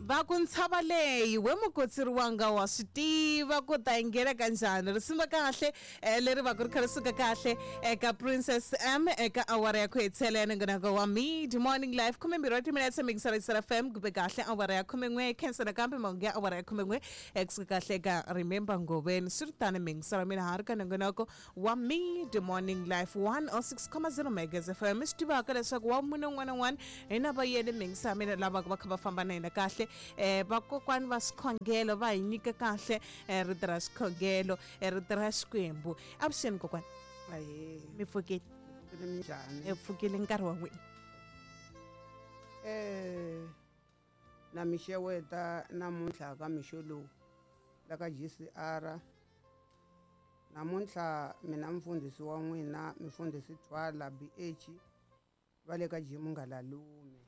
Va ku ntshava leyi we mukotsiri wanga wa swi tiva ku ta yi nghena ka njhani. Risimu ra kahle eh, leri va ku ri kha ri suka kahle eka Princess M eka awara ya ku hetisela ya nongonoko wa Mid Morning Live 12 wa timinetse mixara Isara FM kumbe kahle awara ya 11 khensa nakambe mahungu ya awara ya 11 eh, kusuka kahle eka Remember Ngoveni swi ri tani mixara mina ha ri ka nongonoko wa Mid Morning Life 106.0 Megas FM mi swi tivaka leswaku wa munhu un'wana na un'wana hi na va yena mixara mina lava va kha va famba na hina kahle eh, vakokwani va swikhongelo va hi nyika kahle eh, rito ra swikhongelo eh, rito ra Xikwembu avuxeni kokwani Ahee, mi pfukile pfukile minjhani? mi pfukile nkarhi wa n'wina Eh, na mi xeweta namuntlha ka mixo lowu la ka GCR. Namuntlha mina mfundhisi wa n'wina mfundhisi Thwala BH va le ka G Mungalalume.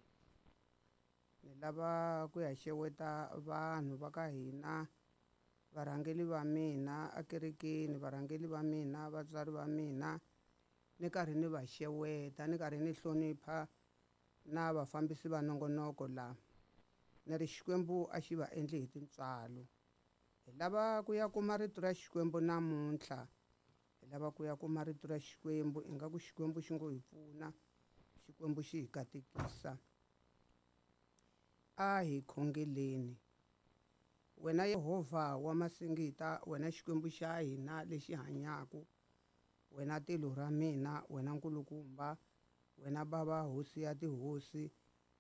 Ni lava ku ya xeweta vanhu va ka hina varhangeli va mina ekerekeni varhangeli va mina vatswari va mina ni karhi ni va xeweta ni karhi ni hlonipha na vafambisi va nongonoko la ni ri Xikwembu a xi va endli hi tintswalo hi lava ku ya kuma rito ra Xikwembu namuntlha hi lava ku ya kuma rito ra Xikwembu ingaku Xikwembu xi ngo hi pfuna Xikwembu xi hi katekisa a hi khongeleni wena Yehovha wa masingita wena Xikwembu xa hina lexi hanyaka wena tilo ra mina wena nkulukumba wena bava hosi ya tihosi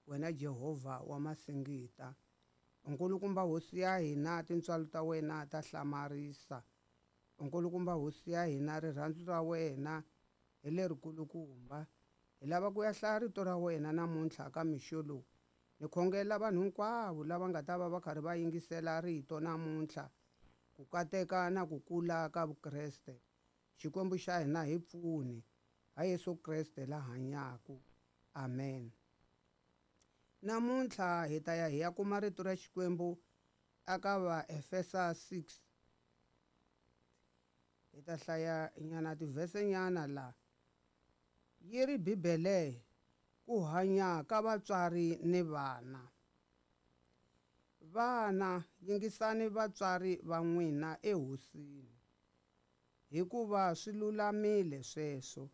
wena Jehovha wa masingita nkulukumba hosi ya hina tintswalo ta wena ta hlamarisa nkulukumba hosi ya hina rirhandzu ra wena hi lerikulukumba hi lava ku ya hlaya rito ra wena namuntlha ka mixo lowu ni khongela vanhu hinkwavo lava nga ta va va karhi va yingisela rito namuntlha ku kateka na ku kula ka Vukreste Xikwembu xa hina hi pfuni ha Yesu Kreste la hanyaka amen namuntlha hi ta ya hi ya kuma rito ra Xikwembu aka Vaefesa 6 hi ta hlaya nyana tivhese nyana la yi ri Bibele ku hanya ka vatswari ni vana vana yingisani vatswari va n'wina ehosini hikuva swi lulamile sweswo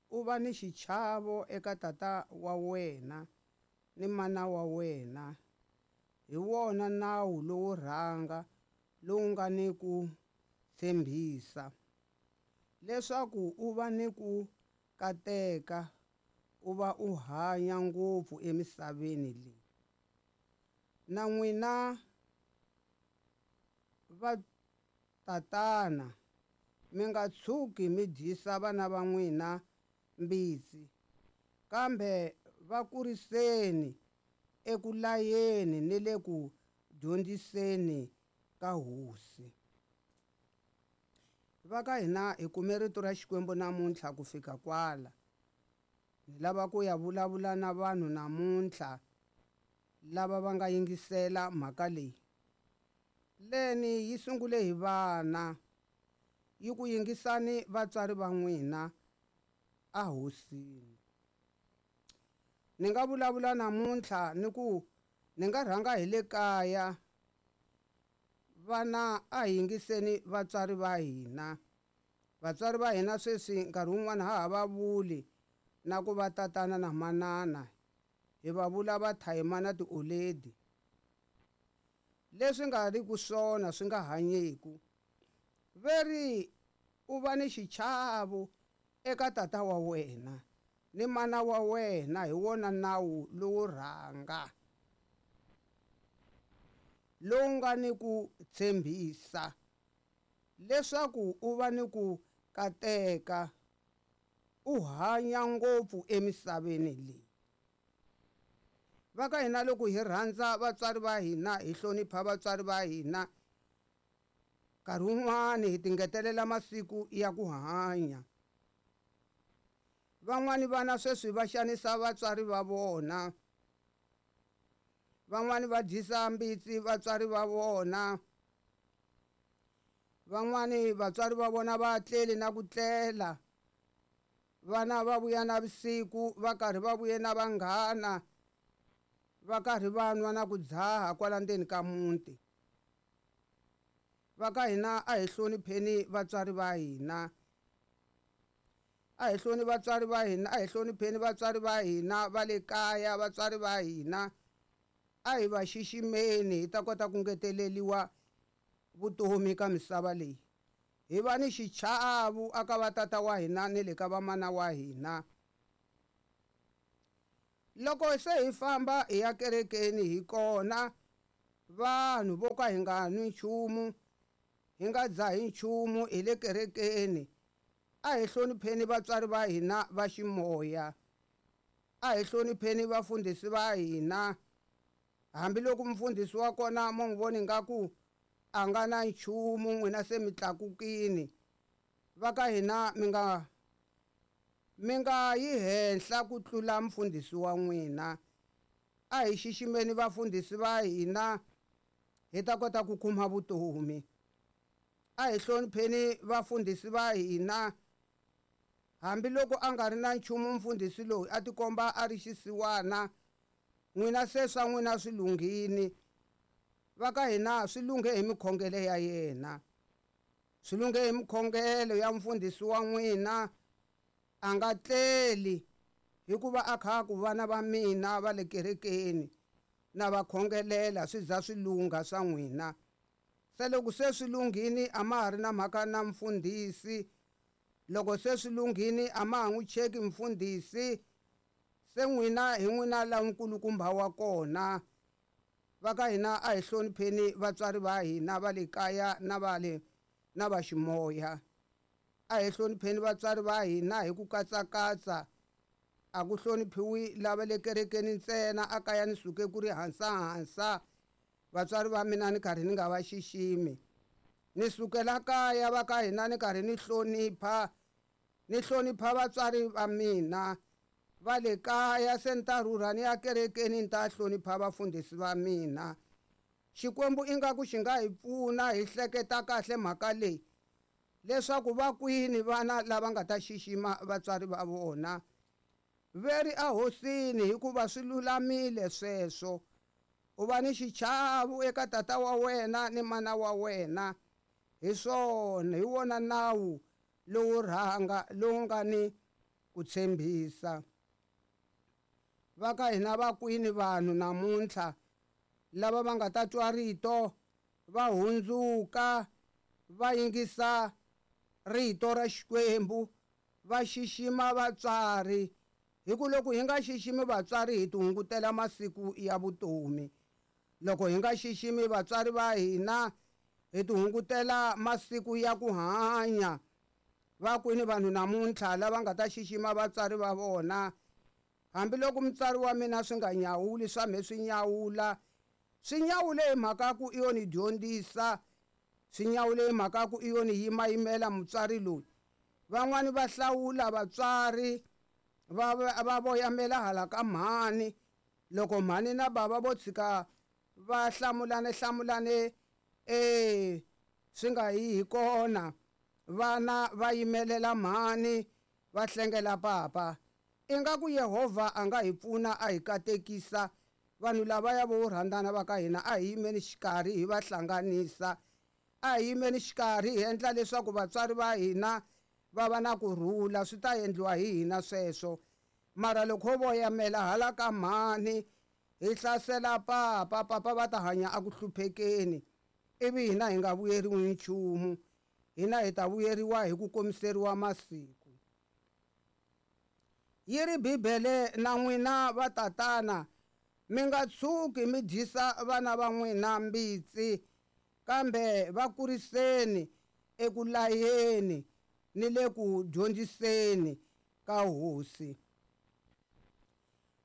u va ni xichavo eka tata wa wena ni mana wa wena hi wona nawu lowo rhanga lowu nga ni ku tshembisa leswaku u va ni ku kateka u va u hanya ngopfu emisaveni leyi na n'wina va tatana mi nga tshuki mi dyisa vana va n'wina mbitsi kambe va kuriseni eku layeni ni le ku dyondziseni ka hosi va ka hina hi kume rito ra Xikwembu namuntlha ku fika kwala ni lava ku ya vulavula na vanhu namuntlha lava va nga yingisela mhaka leyi leni yi sungule hi vana yi ku yingisani vatswari va n'wina a hosini ni nga vulavula namuntlha ni ku ni nga rhanga hi le kaya vana a hi yingiseni vatswari va hina vatswari va hina sweswi nkarhi wun'wana ha ha va vuli na ku va tatana na manana hi va vula va thayima na tioledi leswi nga ri ku swona swi nga hanyeku veri u va ni xichavo eka tata wa wena ni mana wa wena hi wona nawu lowo rhanga lowu nga ni ku tshembisa leswaku u va ni ku kateka u hanya ngopfu emisaveni leyi va ka hina loko hi rhandza vatswari va hina hi hlonipha vatswari va hina nkarhi wun'wani hi tingetelela masiku ya ku hanya van'wani vana sweswi va xanisa vatswari va vona van'wani va dyisa mbitsi vatswari va vona van'wani vatswari va vona va tleli na ku tlela vana va vuya navusiku va karhi va vuye na vanghana Va karhi va nwa na ku dzaha kwala ndzeni ka muti. Va ka hina a hi hlonipheni vatswari va hina. A hi hloni vatswari va hina, a hi hlonipheni vatswari va hina va le kaya, vatswari va hina. A hi va xiximeni hi ta kota ku ngeteleriwa vutomi ka misava leyi. Hi va ni xichavo aka va tata wa hina ni le ka vamana wa hina. Loko se hi famba hi ya kerekeni hi kona vanhu vo ka hi nga nwi nchumu, hi nga dzahi nchumu hi le kerekeni. A hi hlonipheni vatswari va hina va ximoya. A hi hlonipheni vafundhisi va hina. Hambiloko mufundhisi wa kona mo n'wi vona ingaku a nga na nchumu, n'wina se mi tlakukini. Va ka hina mi nga yi henhla ku tlula mufundhisi wa n'wina. A hi xiximeni vafundhisi va hina hi ta kota ku kuma vutomi. A hi hlonipheni vafundhisi va hina. Hambiloko a nga ri na nchumu mufundhisi loyi a tikomba a ri xisiwana, n'wina se swa n'wina swi lunghini. Va ka hina swi lunghe hi mikhongelo ya yena, swi lunghe hi mikhongelo ya mufundhisi wa n'wina. A nga tleli hikuva a kha ku vana va mina va le kerekeni na va khongelela swi za swi lungha swa n'wina. Se loko se swi lunghini a ma ha ri na mhaka na mufundhisi. Loko se swi lunghini a ma ha n'wi cheki mufundhisi. Se n'wina hi n'wina la nkulukumba wa kona. Va ka hina a hi hlonipheni vatswari va hina va le kaya na va le na va ximoya. A hi hlonipheni vatswari va hina hi ku katsakatsa. A ku hloniphiwi lava le kerekeni ntsena, a kaya ni suke ku ri hansahansa. Vatswari va mina ni karhi ni nga va xiximi. Ni sukela kaya va ka hina ni karhi ni hlonipha, ni hlonipha vatswari va mina va le kaya. Se ni ta rhurha ni ya kerekeni ni ta hlonipha vafundhisi va mina. Xikwembu ingaku xi nga hi pfuna hi hleketa kahle mhaka leyi, leswaku va kwini vana lava nga ta xixima vatswari va vona. Veri ehosini hikuva swi lulamile sweswo. U va ni xichavo eka tata wa wena ni mana wa wena. Hi swona, hi wona nawu lowu rhanga lowu nga ni ku tshembisa. Va ka hina va kwini vanhu namuntlha lava va nga ta twa rito va hundzuka va yingisa rito ra Xikwembu, va xixima vatswari. Hi ku loko hi nga xiximi vatswari hi tihungutela masiku ya vutomi. Loko hi nga xiximi vatswari va hina hi tihungutela masiku ya ku hanya. Va kwini vanhu namuntlha lava nga ta xixima vatswari va vona? Hambiloko mutswari wa mina swi nga nyawuli, swa mhe swi nyawula, swi nyawule hi mhaka ku i yo ni dyondzisa, swi nyawule hi mhaka ku i yo ni yimayimela mutswari loyi. Van'wani va hlawula vatswari va voyamela hala ka mhani. Loko mhani na bava vo tshika va hlamulane hlamulane swi nga yi hi kona, vana va yimelela mhani va hlengela papa. Ingaku Yehovha a nga hi pfuna a hi katekisa. Vanhu lavaya vo rhandzana va ka hina a hi yimeni xikarhi hi va hlanganisa. A hi yimeni xikarhi hi endla leswaku vatswari va hina va va na kurhula, swi ta endliwa hi hina sweswo. Mara loko ho voyamela hala ka mhani hi hlasela papa, papa va ta hanya a ku hluphekeni, ivi hina hi nga vuyeriwi nchumu. Hina hi ta vuyeriwa hi ku komiseriwa masiku. Yi ri Bibele na n'wina vatatana mi nga tshuki mi dyisa vana va n'wina mbitsi, kambe va kuriseni eku layeni ni le ku dyondziseni ka Hosi.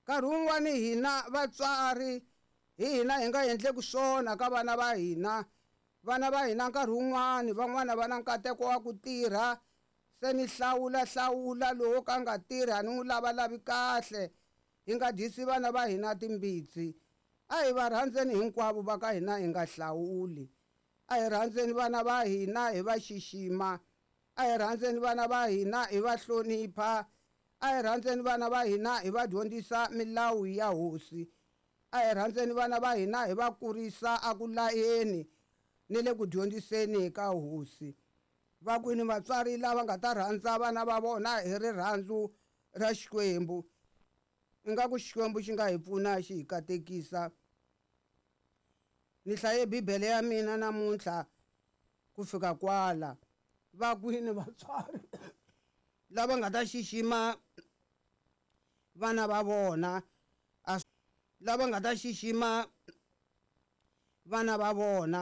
Nkarhi wun'wani hina vatswari hi hina hi nga endleki swona ka vana va hina. Vana va hina nkarhi wun'wani van'wana va na nkateko wa ku tirha, se ni hlawula hlawula lowo ka nga tirhi a ni n'wi lavalavi kahle. Hi nga dyisi vana va hina timbitsi. A hi va rhandzeni hinkwavo va ka hina, hi nga hlawuli. A hi rhandzeni vana va hina hi va xixima. A hi rhandzeni vana va hina hi va hlonipha. A hi rhandzeni vana va hina hi va dyondzisa milawu ya Hosi. A hi rhandzeni vana va hina hi va kurisa a ku layeni ni le ku dyondziseni ka hosi. Va kwini vatswari lava nga ta rhandza vana va vona hi rirhandzu ra Xikwembu? Ingaku Xikwembu xi nga hi pfuna xi hi katekisa. Ni hlaye Bibele ya mina namuntlha ku fika kwala. Va kwini vatswari lava nga ta xixima vana va vona? Lava nga ta xixima vana va vona.